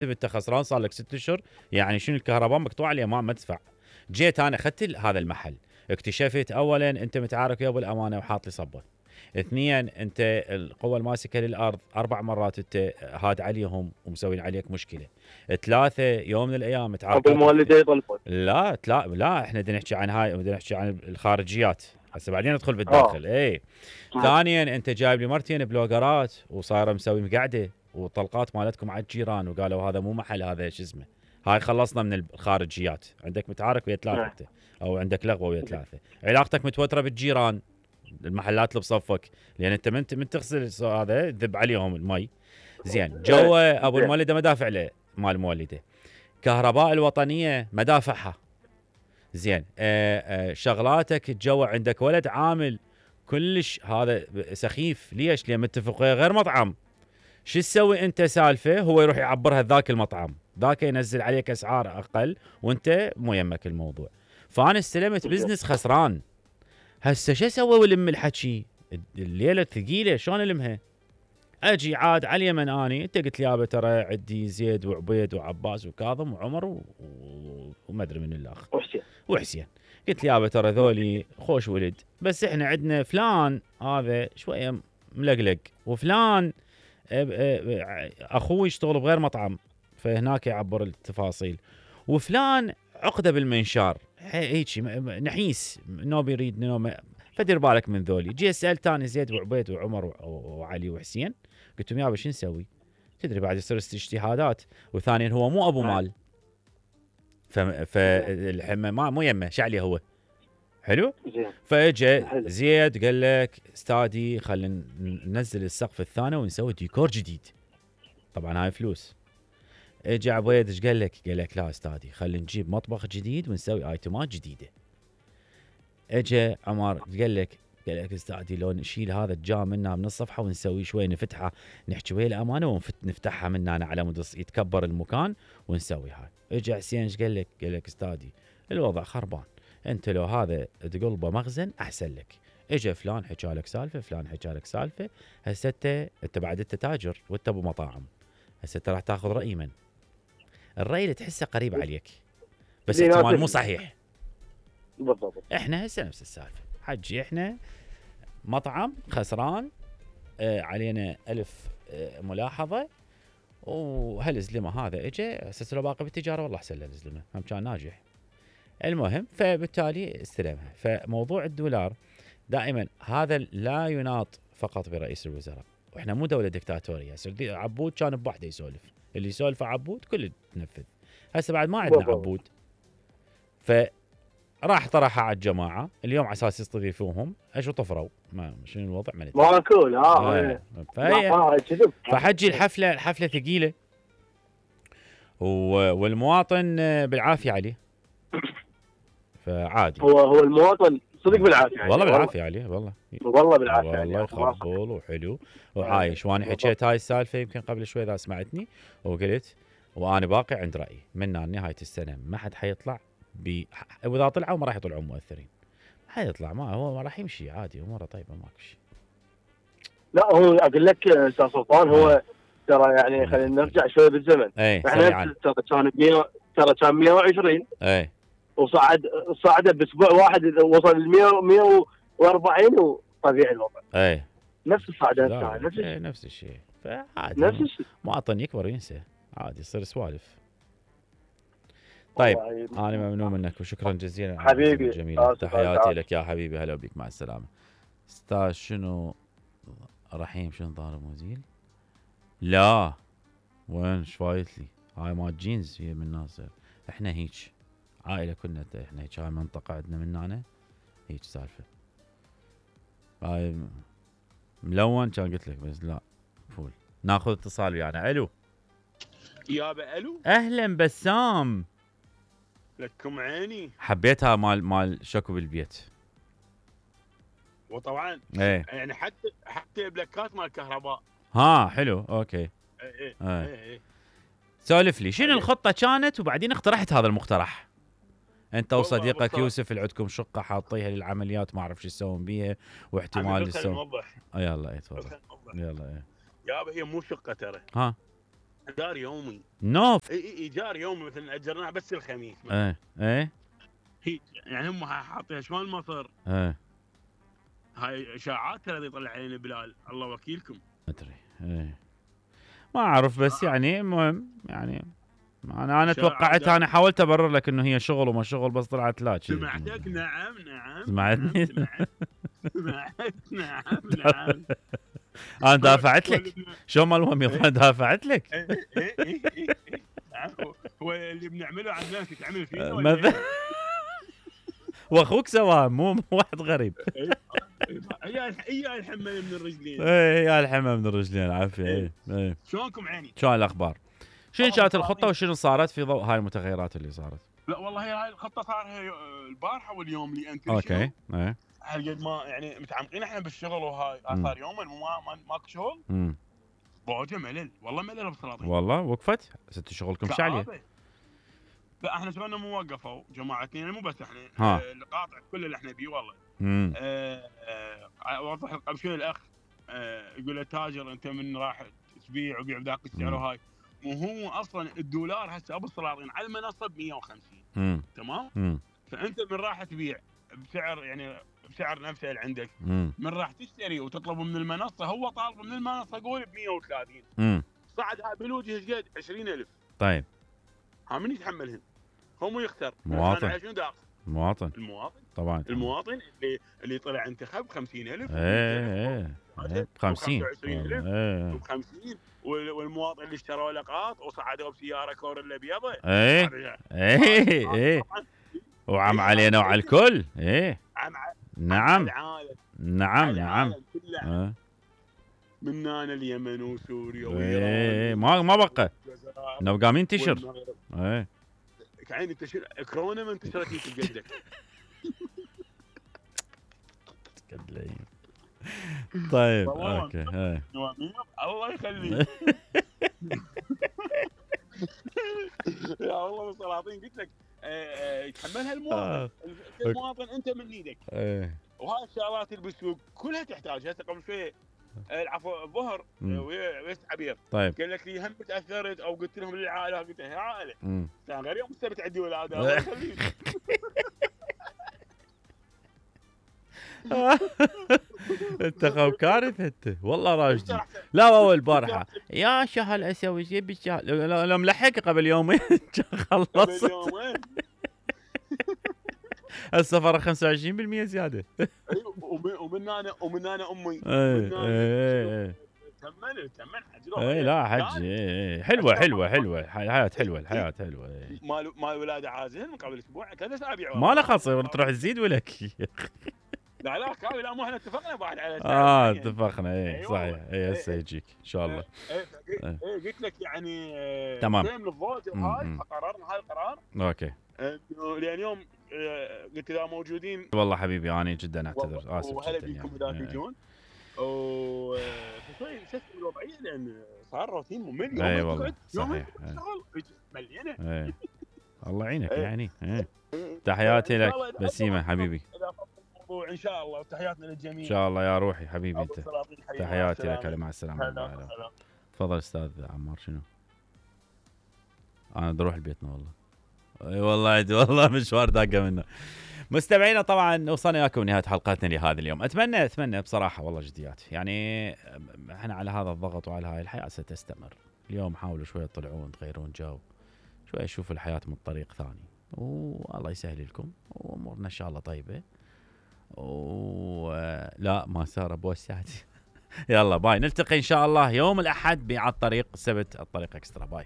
انت خسران صار لك 6 اشهر، يعني شنو الكهرباء مقطوعه اليمام ما تدفع. جيت انا اخذت هذا المحل، اكتشفت اولا انت متعارك ويا ابو الامانه وحاط لي صبه. اثنين انت القوه الماسكه للارض 4 مرات انت هاد عليهم ومسوين عليك مشكله. ثلاثه يوم من الايام تعاركات ابو المولده يطلبون. لا احنا بدنا نحكي عن هاي، بدنا نحكي عن الخارجيات هسه بعدين ندخل بالداخل. اي ثانيا انت جايب لي مرتين بلوجرات وصايره مسوي مقعده وطلقات مالتكم على الجيران وقالوا هذا مو محل، هذا شو اسمه. هاي خلصنا من الخارجيات. عندك متعارك ويا ثلاثه انت، او عندك لغوه ويا ثلاثه. علاقتك متوتره بالجيران، المحلات اللي بصفك، لان انت من تغسل هذا ذب عليهم المي. زين جوا ابو المولده مدافع له مال المولده. كهرباء الوطنيه مدافعها. زين شغلاتك جوا عندك ولد عامل كلش هذا سخيف. ليش؟ لان متفق ويا غير مطعم. شو تسوي انت سالفه؟ هو يروح يعبرها ذاك المطعم، ذاك ينزل عليك اسعار اقل وانت مو يمك الموضوع. فانا استلمت بزنس خسران. هسه شو اسوي ولم الحكي؟ الليله ثقيله شلون المها؟ اجي عاد على اليمن اني، انت قلت لي يابا ترى عندي زيد وعبيد وعباس وكاظم وعمر وما ادري من الاخ وحسين. قلت لي يابا ترى ذولي خوش ولد، بس احنا عندنا فلان هذا شويه ملقلق، وفلان اخوي يشتغل بغير مطعم فهناك يعبر التفاصيل، وفلان عقده بالمنشار هيك نحيس نوب يريد نوم. فدير بالك من ذولي. جي سالت ثاني زيد وعبيد وعمر وعلي وحسين، قلت لهم يابا شو نسوي؟ تدري بعد يصير اجتهادات، وثانيا هو مو ابو مال، فالحمه ما مو يمه شعلي هو حلو. فاجى زيد قال لك استادي خلينا ننزل السقف الثاني ونسوي ديكور جديد، طبعا هاي فلوس. اجى عبيد ايش قال لك؟ قال لك لا استادي خلينا نجيب مطبخ جديد ونسوي ايتمات جديده. اجى عمر قال لك استادي لو نشيل هذا الجام منا من الصفحه ونسوي شوي نفتحها، نحكي ويا الامانه ونفتحها من هنا على مود يتكبر المكان ونسوي هاي. اجى حسين ايش قال لك؟ قال لك استادي الوضع خربان، انت لو هذا تقلبه مخزن احسن لك. اجى فلان حكى لك سالفه، فلان حكى لك سالفه. هسه انت بعد انت تاجر وانت ابو مطاعم، هسه انت راح تاخذ راي من؟ الراي اللي تحسه قريب عليك بس احتمال مو صحيح. بالضبط. احنا هسه نفس السالفه حجي، احنا مطعم خسران علينا 1000 ملاحظه، وهالزلمه هذا اجى هسه لو باقي بالتجاره والله احسن له الزلمه هم كان ناجح. المهم فبالتالي استلمها. فموضوع الدولار دائما هذا لا يناط فقط برئيس الوزراء، واحنا مو دوله دكتاتوريه. عبود كان بوحده يسولف، اللي يسولف عبود كله تنفذ. هسه بعد ما عندنا عبود، فراح طرحها على الجماعه اليوم على اساس يستضيفوهم. ايش طفروا؟ ما شنو الوضع؟ ما ندري. ماكول فحجي الحفله ثقيله والمواطن بالعافيه عليه. فعادي هو المواطن صدق بالعافيه والله بالعافيه عليه والله بالعافيه والله يخبل وحلو وعايش. وانا حكيت هاي السالفه يمكن قبل شوي اذا سمعتني، وقلت وانا باقي عند رايي من نهايه السنه ما حد حيطلع واذا طلعوا ما راح يطلعون مؤثرين، ما حيطلع، ما هو ما راح يمشي عادي اموره طيبه ماكو شيء. لا هو اقول لك استاذ سلطان، هو ترى يعني خلينا نرجع شوي بالزمن. احنا ترى كان 120 وصعد باسبوع واحد وصل ل 140 وطبيعي الوضع. نفس الصعدات نفس الشيء. فعادي نفس الشيء، مواطن يكبر ينسى عادي يصير سوالف. طيب انا ممنون منك وشكرا جزيلا حبيبي جميل. تحياتي لك يا حبيبي، هلا بك مع السلامه. استاذ شنو رحيم شنو ضارب مزيل؟ لا وين شفايت لي هاي مال جينز هي من الناس. احنا هيك عائله كنا احنا هيك، هاي منطقه عندنا من هنا هيك سالفه. هاي ملون كان قلت لك بس لا فول. ناخذ اتصال ويانا. الو يابا الو اهلا بسام. لكم عيني. حبيتها مال شكو بالبيت. وطبعا يعني حتى بلاكات مال كهرباء. حلو اوكي. ايه سولف لي شنو الخطه كانت وبعدين اقترحت هذا المقترح. انت وصديقك يوسف اللي عندكم شقه حاطيها للعمليات ما اعرف شو تسوون بيها واحتمال تسوون. يلا تفضل. يلا يابا هي مو شقه ترى. ايجار يومي. نوف. ايجار يومي مثلا اجرناها بس الخميس. ايه هي يعني هم حاطين شلون المصر. هاي اشاعات ترى يطلع علينا بلال، الله وكيلكم. ما ادري ما اعرف، بس يعني المهم يعني انا توقعت، انا حاولت ابرر لك انه هي شغل وما شغل، بس طلعت لا. سمعتك. نعم سمعتني. سمعت. نعم انا دافعت لك. شو ما المهم دافعت لك. هو اللي بنعمله على الناس يتعمل فينا واخوك سواها، مو واحد غريب. يا الحمى من الرجلين. يا الحمى من الرجلين، عافيه. شلونكم عيني؟ شلون الاخبار؟ شنو كانت الخطه وشنو صارت في ضوء هاي المتغيرات اللي صارت؟ لا والله هاي الخطه صار البارحه واليوم اللي انت اوكي. هالقد ما يعني متعمقين احنا بالشغل، وهاي صار يومين ماكو شغل. بوجه ملل، والله ملل بسلاطين. والله وقفت 6 شغلكم شعليه. لا احنا شغلنا مو وقفوا جماعتنا، يعني مو بس احنا القاطع كل اللي احنا بيه والله. اوضح لك قبل شوي الاخ يقول له تاجر انت من راح تبيع وبيع بذاك السعر وهاي، وهو اصلا الدولار هسه ابو السلاطين على المنصه ب 150. تمام. فانت من راح تبيع بسعر يعني بسعر نفسه اللي عندك، من راح تشتري وتطلبه من المنصه، هو طالبه من المنصه قول ب 130. صعد هاي بالوجه ايش قد 20,000. طيب ها من يتحملهن؟ هو مو يختار مواطن. المواطن طبعا. المواطن اللي طلع انتخب 50,000. 50 ب 50. والمواطن اللي اشتروا لقاط وصعدوا بسياره كوريلا بيضة. وعم علينا وعلى الكل. نعم من هنا اليمن وسوريا وايران. ما بقى نبقى مين تنتشر. كعين انتشر كورونا ما انتشرت في قدك. طيب اوكي. الله يخليك. يا والله السلاطين قلت لك يتحملها المواطن. المواطن انت من ايدك. وهاي الشغلات اللي بالسوق كلها تحتاج. هسه قبل شوي العفو الظهر ويست عبير. طيب قال لك لي هم تاثرت او قلت لهم للعائله، قلت له عائله كان غير يوم السبت عندي ولاده. الله يخليك. انت خوف كارثه انت والله راشدي. لا اول البارحه يا شهل اسوي شيء بالشهر لو ملحق قبل يومين خلص. السفر 25% زياده. ومن انا امي. تمن حج. لا حج حلوه الحياه حلوه. مال ولاده عازل من قبل اسبوع 3 اسابيع. ما له خاص تروح تزيد ولك. لا كاوي، لا مو احنا اتفقنا بعد على اتفقنا. صحيح. هسه يجيك ان شاء الله. قلت لك يعني تمام من الضوء وهاي فقررنا هاي القرار. اوكي. لان يوم قلت اذا موجودين. والله حبيبي انا جدا اعتذر، اسف وهلا بيكم اذا تجون. شوي شو الوضعيه لان صار روتين ممل. اي والله صحيح. مليانه. الله يعينك يعني. تحياتي لك بسيمه حبيبي. ان شاء الله، وتحياتنا للجميع. ان شاء الله يا روحي حبيبي انت. تحياتي لك. مع السلامه. تفضل استاذ عمار. شنو؟ انا بروح لبيتنا والله. اي والله عندي والله مشوار داقه منه. مستمعينا طبعا وصلنا وياكم نهايه حلقتنا لهذا اليوم. اتمنى بصراحه والله جديات، يعني احنا على هذا الضغط وعلى هاي الحياه ستستمر. اليوم حاولوا شويه تطلعون تغيرون جو، شويه تشوفوا الحياه من طريق ثاني، والله يسهل لكم وامورنا ان شاء الله طيبه. لا ما صار بوسعت. يلا باي، نلتقي ان شاء الله يوم الاحد على الطريق، السبت الطريق اكسترا. باي.